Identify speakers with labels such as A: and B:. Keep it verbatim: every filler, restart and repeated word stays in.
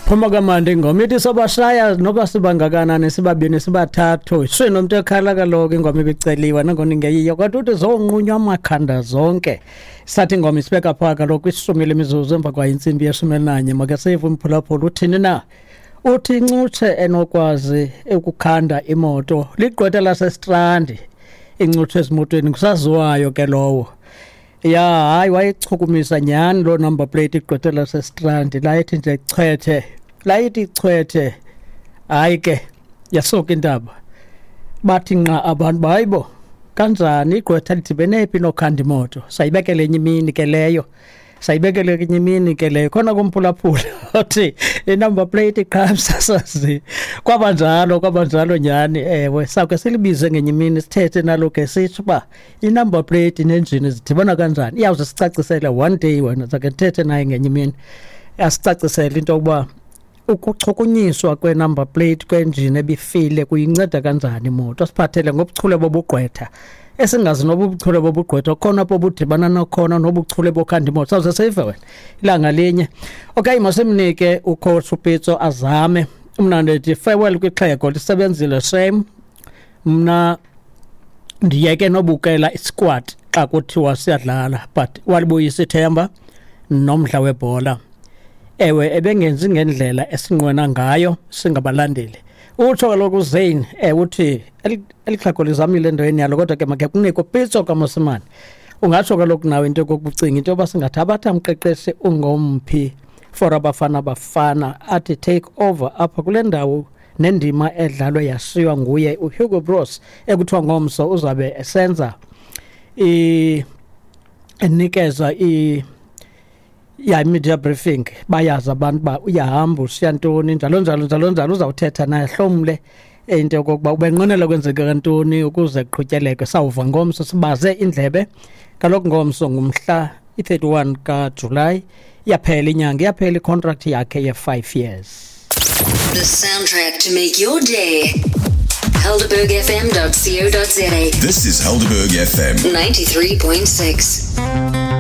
A: Phuma kamandi ingoma ithi sobashaya noba sibangakanani, sibabini, sibathathu, sinomntu ekhala kaloku. Ingoma ibiceliwe nangona ingeyiyo, kodwa uthi zonqunywa amakhanda zonke. Sathi ingoma isibeka phaa kaloku ishumi lemizuzu emva kwayo intsimbi yeshumi elinanye. Make sive umphulaphula uthini na. Uthi incutshe enokwazi ukukhanda imoto ligqwetha laseStrandi. Incutshe ezimotweni ngusaziwayo ke lowo. Ya, hayi, wayechukumisa nyhani loo number plate igqwetha laseStrandi. Layithi nje chwethe, layithi chwethe, hayi ke yasuka intaba. Bathi nqa abantu, hayibo, kanjani igqwetha lidibene phi nokhanda imoto? Sayibekele enye imini ke leyo, sayibekele enye imini ke leyo. Khona kumphulaphula othi i-number plate qha msasazi. Kwaba njalo, kwaba njalo nyhani. Ewe, sawuke silibize ngenye imini, sithethe nalo ke, sitsho uba i-number plate nenjini zidibana kanjani. Iyawuze sicacisele one day wena. Sake ndithethe naye ngenye imini, asicacisele into yokuba ukuchukunyiswa kwe-number plate kwenjini ebifile kuyinceda kanjani imoto. Asiphathele ngobuchule bobugqwetha, esingazi noba ubuchule bobugqwetha khona apho budibana nokhona nobuchule bokhanda imoto. Sawuze sive wena ilanga linye. Okay, masimnike ucoach uPitso azame. Mna ndithi farewell kwixhego, lisebenzile shame. Mna ndiyeke nobukela isquad xa kuthiwa siyadlala, but walibuyisa ithemba nomdla webhola. Ewe, ebengenzi ngendlela esinqwena ngayo singabalandeli. Utsho kaloku uZane, ewe, uthi eli xhego lizamile endaweni yalo, kodwa ke makhe kunikwe uPitso kaMosimane. Ungatsho kaloku nawe into yokokucinga into yoba singathabatha mqeqeshi ungomphi for Abafana Bafana athi take over apha kule ndawo nendima edlalwe yashiywa nguye uHugo Broos, ekuthiwa ngomso uzabe esenza enikeza i ya media briefing. Bayazi abantu uba uyahamba, ushiya ntoni, njalo njalo njalo njalo. Uzawuthetha naye, hlomle into yokokuba ubenqwenela kwenzeka ntoni ukuze kuqhutyelekwe. Sawuva ngomso, sibaze indlebe kaloku. Ngomso ngumhla i-thirty-one kaJulayi, iyaphela inyanga, iyaphela icontract yakhe ye-five years.
B: The soundtrack to make your day. Helderberg F M dot co dot za.
C: This is Helderberg F M.
B: ninety-three point six.